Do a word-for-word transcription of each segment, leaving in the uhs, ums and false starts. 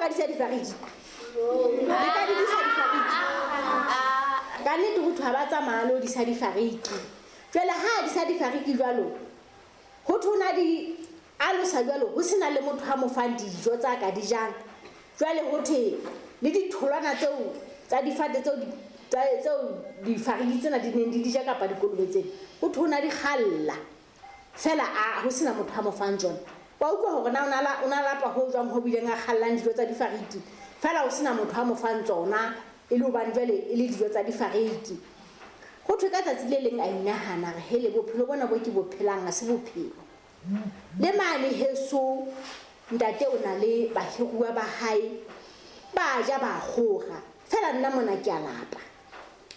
ka disa difariki? Le ka di disa difariki? Ka nnete ho thwe ha ba tsamaya lo disa difariki. Jwale ha disa difariki jwalo, ho thwe na di alosa jwalo, ho sena le motho a mo fang dijo tsa ka di jang. Jwale ho thwe le ditholwana tseo tsa difate tseo tseo difariki tsena di neng di di ja kapa dikolobe tsena, ho thwe na di kgalla fela a ho sena motho a mo fang tsona. Wa utlwa hore na o na o na lapa ho jwang ho bileng a kgallang dijo tsa difariki fela ho sena motho a mo fang tsona, e le hobane jwale e le dijo tsa difariki. Ho thwe ka tsatsi le leng a inahana re hele bophelo bona bo ke bo phelang ha se bophelo. Le mane heso ntate o na le bahiruwa ba hae ba ja ba kgora fela nna mona ke a lapa.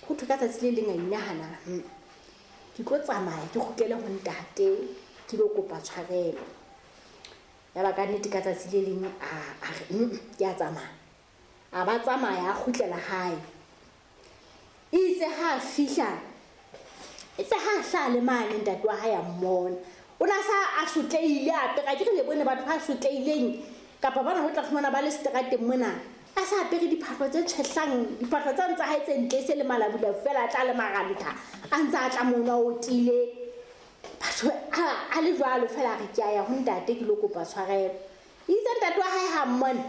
Ho thwe ka tsatsi le leng a inahana ke tlo tsamaya ke kgutlele ho ntate ke lo kopa tshwarelo. Ya ba ka nnete ka tsatsi le leng a a re ke a tsamaya. A ba tsamaya a kgutlela hae. Itse ha fihla, itse ha hla le mane ntate wa hae a mmona. O na sa a sotleile apere, ke re le bone batho ba sotleileng kapa bana ho tla fumana ba le seterateng mona. A sa apere diphahlo tse tshehlang, diphahlo tsa ntsa hae tse ntle se le malabula fela tla le maranta. A ntsa a tla mona o tile. Batho a le jwalo fela re ke a ya ho ntate ke lo kopa tshwarelo. Itse ntate wa hae ha mmona.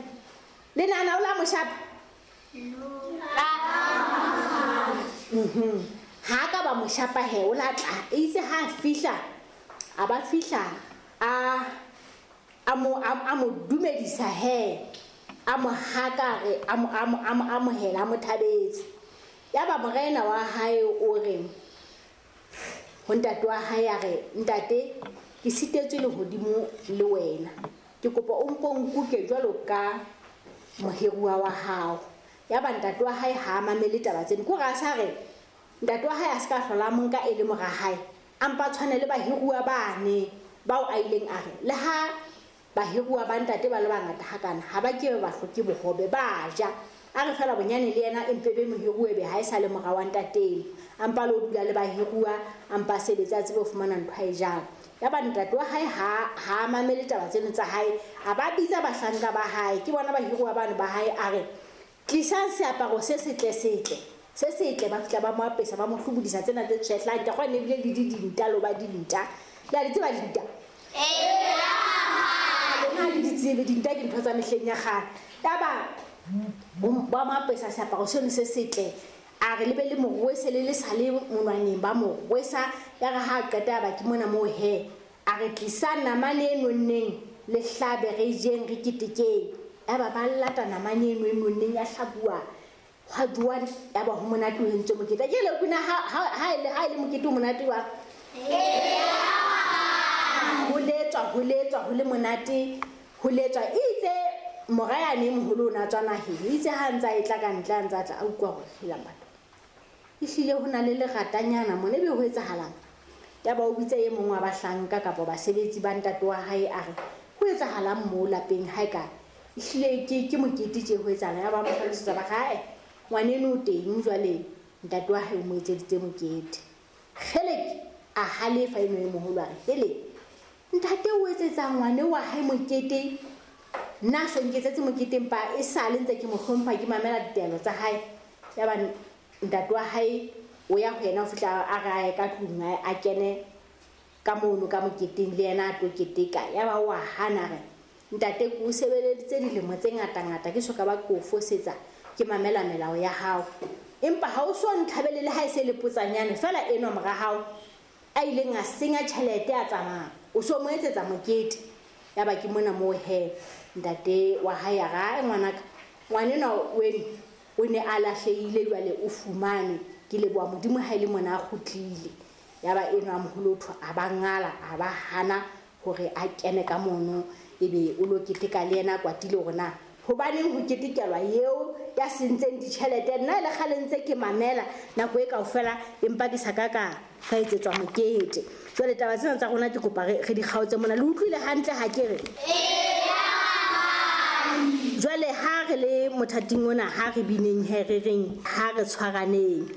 Le nana o la moshapa? Mhm. Ha ka ba moshapa he o la tla. Itse ha fihla a ba fihla a a mo a mo dumedisa he. A mo haka re a mo a mo a mo amohela a mo thabetse. Ya ba morena wa hae o re ho ntate wa hae a re ntate ke sitetswe lehodimo le wena. Ke kopa o mpo nkuke jwalo ka mohiruwa wa hao. Ya ba ntate wa hae ha mamele taba tseno. Ko ra sa re ntate wa hae a ska hlola monka e le mora hae. A mpa tshwane le bahiruwa bane bao a ileng a re le ha bahiruwa ba ntate ba le bangata hakana ha ba ke ba hloke bohobe ba ja. A re fela bonyane le yena empe be mohiruwe be ha e sa le mora wa ntate. A mpa lo dula le bahiruwa a mpa sebetsa a tsebe ho fumana ntho a e jang. Ya ba ntate wa hae ha ha mamele taba tseno tsa hae a ba bitsa bahlanka ba hae ke bona bahiruwa bano ba hae a re tlisang seaparo se setle setle se setle ba fihla ba mo apesa ba mo hlobodisa tsena tse tshehlang ke gone ebile le di dinta lo ba dinta le a di tseba dinta ee lona le di tsebe dinta ke ntho tsa mehleng ya kgale. Ya ba ba mo apesa seaparo seno se setle a re lebe le morwese le le sa le monwaneng ba morwesa. Ya re ha qeta ba ke mona moo he a re tlisa namane e nonneng le hlabe re jeng re ketekeng. Ya ba ba lata namane eno e nonneng ya hlabuwa hwa jowa ya ba ho monate ho entswe mokete. Ke le kuna ha ha ile ha ile mokete o monate wa ho letswa ho letswa ho le monate ho letswa. Itse mora yane e moholo o na tswa naheng itse ha ntsa e tla ka ntle a ntsa tla a utlwa hore helang batho ehlile ho na le leratanyana mona ebe ho etsahalang. Ya ba o bitsa e mong wa bahlanka kapa basebetsi ba ntate wa hae a re ho etsahalang mo lapeng hae ka ehlile ke ke mokete tje ho etsahala. Ya ba mo hlalosetsa ba hae ngwaneno o teng jwale ntate wa hae o mo etseditse mokete. Kgeleke a halefa eno e moholo a re hele ntate o etsetsa ngwane wa hae mokete nna so nketsetse mokete empa e sale ntse ke mo hlompha ke mamela ditaelo tsa hae. Ya ba ntate wa hae o ya ho yena ho fihla a re a ye ka tlung a kene ka mono ka moketeng le yena a tlo keteka. Ya ba wa hana re ntate ke o sebeleditse dilemo tse ngata-ngata ke soka ba ke o fosetsa ke mamela melao ya hao empa ha o so ntlhabele le ha e se le potsanyane fela enwa mora hao a ileng a senya tjhelete a tsamaya o so mo etsetsa mokete. Ya ba ke mona moo he ntate wa hae a re ngwanaka ngwanenwa weno o ne a lahlehile jwale o fumane ke leboha Modimo ha ile mona a kgutlile. Ya ba enwa moholo thwa a ba ngala a ba hana hore a kene ka mono ebe o lo keteka le yena kwatile hore na hobaneng ho ketekelwa eo ya sentseng ditjhelete nna le kgale ntse ke mamela nako e kaofela empa ke sa ka ka ka etsetswa mokete. Jwale taba tsena tsa rona ke kopa re re di kgaotse mona. Le utlwile hantle ha ke re? Jwale ha re le mothating ona ha re bineng he re reng ha re tshwaraneng.